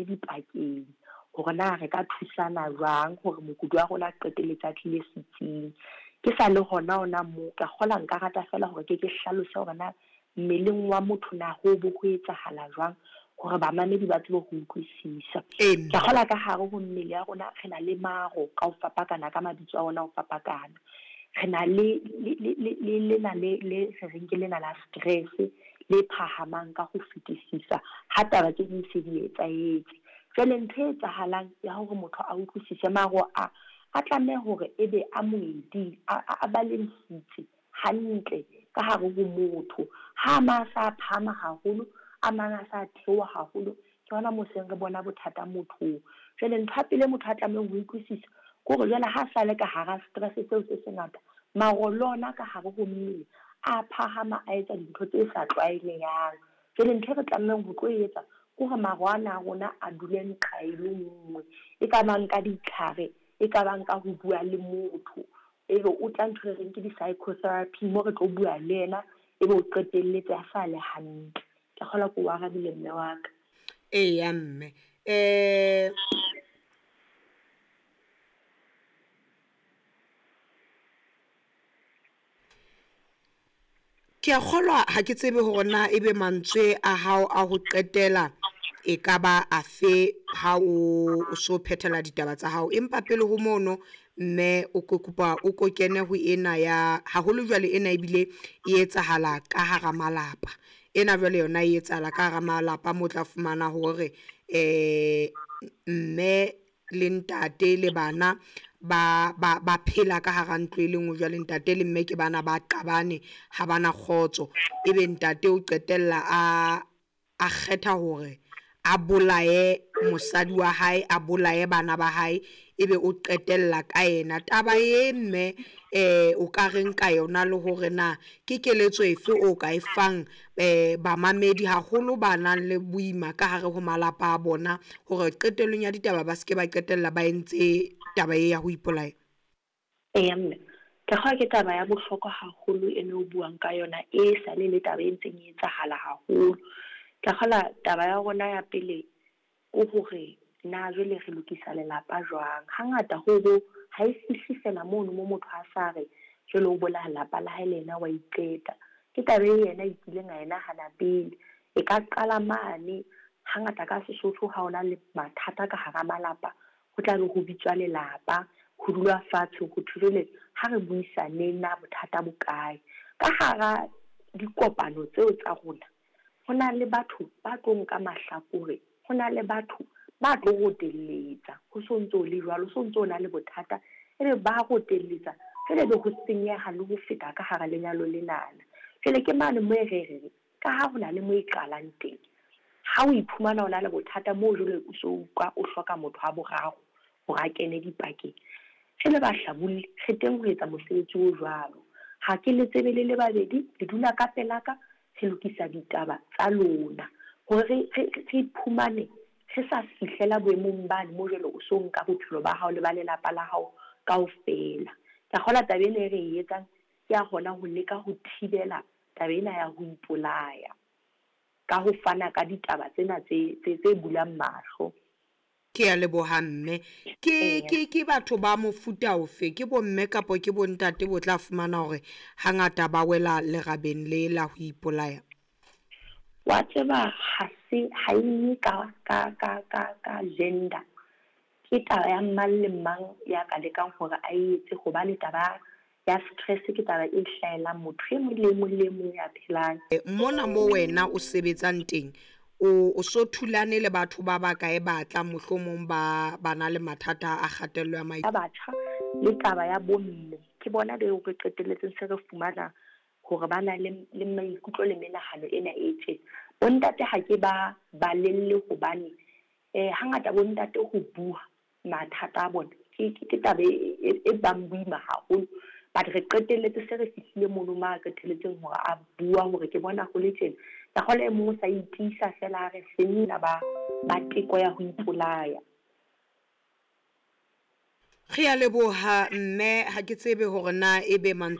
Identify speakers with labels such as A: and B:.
A: kene dipakeng hore na re ka thusana jwang hore mokudi wa rona a qetelletse a tlile setsing. Ke sa le hona hona moo, ka kgola nka rata feela hore ke ke hlalose hore na mmeleng wa motho na ho bo ho etsahala jwang hore bamamedi ba tsebe ho utlwisisa. Ke kgola ka hare ho mmele ya rona re na le maro ka ho fapakana ka mabitso a ona ho fapakana. Re na le lena le re reng ke lena la stress le phahamang ka ho fetisisa ha taba tse ding se di etsahetse. Jwale ntho e etsahalang ya hore motho a utlwisise maro a a tlameha hore ebe a moeding a balance-itse hantle ka hare ho motho. Ha a mang a sa phahama haholo, a mang a sa theoha haholo, ke hona moo seng re bona bothata mothong. Jwale ntho ya pele motho a tlamehang ho utlwisisa ke hore jwale ha sa le ka hara stress seo se sengata, maro le ona ka hare ho mmele a phahama a etsa dintho tse sa tlwaelehang. Jwale ntho e re tlamehang ho tlo etsa ke hore maro ana a rona a dule nqa e le nngwe, e ka bang ka ditlhare, e ka bang ka ho bua le motho, ebe o tla ntho e reng ke di-psychotherapy mo re tlo bua le yena, ebe o qetelletse a sa le hantle. Ke kgolwa ke o arabile mme wa ka.
B: Eya mme. Ke a kgolwa ha ke tsebe hore na ebe mantswe a hao a ho qetela e ka ba afe ha o so phethela ditaba tsa hao, empa pele ho mono mme o ko kopa o ko kene ho ena ya haholo jwale ena ebile e etsahala ka hara malapa. Ena jwale yona e etsahala ka hara malapa mo tla fumana hore mme le ntate le bana ba ba ba phela ka hara ntlo e le nngwe. Jwale ntate le mme ke bana ba qabane, ha bana kgotso, ebe ntate o qetella a kgetha hore a bolaye mosadi wa hae, a bolaye bana ba hae, ebe o qetella ka yena. Taba e mme o ka reng ka yona le hore na ke keletso efe o ka e fang bamamedi haholo ba nang le boima ka hare ho malapa a bona hore qetellong ya ditaba ba seke ba qetella ba entse taba e ya ho ipolaya?
A: Eya mme, ke kgolwa ke taba ya bohlokwa haholo ene o buang ka yona, e sale le taba e ntseng e etsahala haholo. Ke kgola taba ya rona ya pele ke hore na jwale re lokisa lelapa jwang. Hangata ho bo ha e fihle fela mono mo motho a sa re jwale o bolaya lelapa la hae le yena wa iqeta. Ke taba e yena a kileng a e nahana pele. E ka qala mane hangata ka Sesotho ha ona le mathata ka hara malapa, ho tla be ho bitswa lelapa, ho dulwa fatshe ho thwe jwale ha re buisaneng na bothata bo kae. Ka hara dikopano tseo tsa rona, ho na le batho ba tlo nka mahlakore, ho na le batho ba tlo rotelletsa, ho so ntso le jwalo, ho so ntso na le bothata, ebe ba rotelletsa, jwale ebe ho senyeha le ho feta ka hara lenyalo lenana. Jwale ke mane mo e re reng, ka ha ho na le mo e qalang teng, ha o iphumana o na le bothata moo jwale o so utlwa o hloka motho wa boraro hore a kene dipakeng. Re le bahlabolli, re teng ho etsa mosebetsi o jwalo. Ha ke le tsebe le le babedi, le dula ka pelaka, re lokisa ditaba tsa lona hore re iphumane re sa fihlela boemong bane mo jwale o so nka bophelo ba hao le ba lelapa la hao kaofela. Ke a kgolwa taba ena e re e etsang ke ya hona ho leka ho thibela taba ena ya ho ipolaya ka ho fana ka ditaba tsena tse bulang mahlo.
B: Ke a leboha mme. Ke batho ba mofuta ofe, ke bomme kapa ke bontate bo tla fumana hore hangata ba wela lerabeng le la ho ipolaya?
A: Wa tseba ha se ha e ka gender. Ke taba ya mang le mang ya ka lekang hore a etse, hobane taba ya stress ke taba e hlahelang motho e mong le mong le mong ya phelang.
B: Mona mo wena o sebetsang teng, o so thulane le batho ba bakae ba tlang mohlomong ba na le mathata a kgatello ya
A: maikutlo? Batjha le taba ya bomme ke bona beo re qetelletseng se re fumana hore ba na le maikutlo le menahano ena e tjena. Bontate ha ke ba balelle hobane hangata bontate ho bua mathata a bona ke taba e bang boima haholo. But re qetelletse se re fihlile mono ma qetelletseng hore a bua hore ke bona ho le tjena. Ka kgola e mong o sa itiisa fela a re senna ba teko ya ho ipolaya.
B: Re a leboha mme, ha ke tsebe hore na ebe mantswe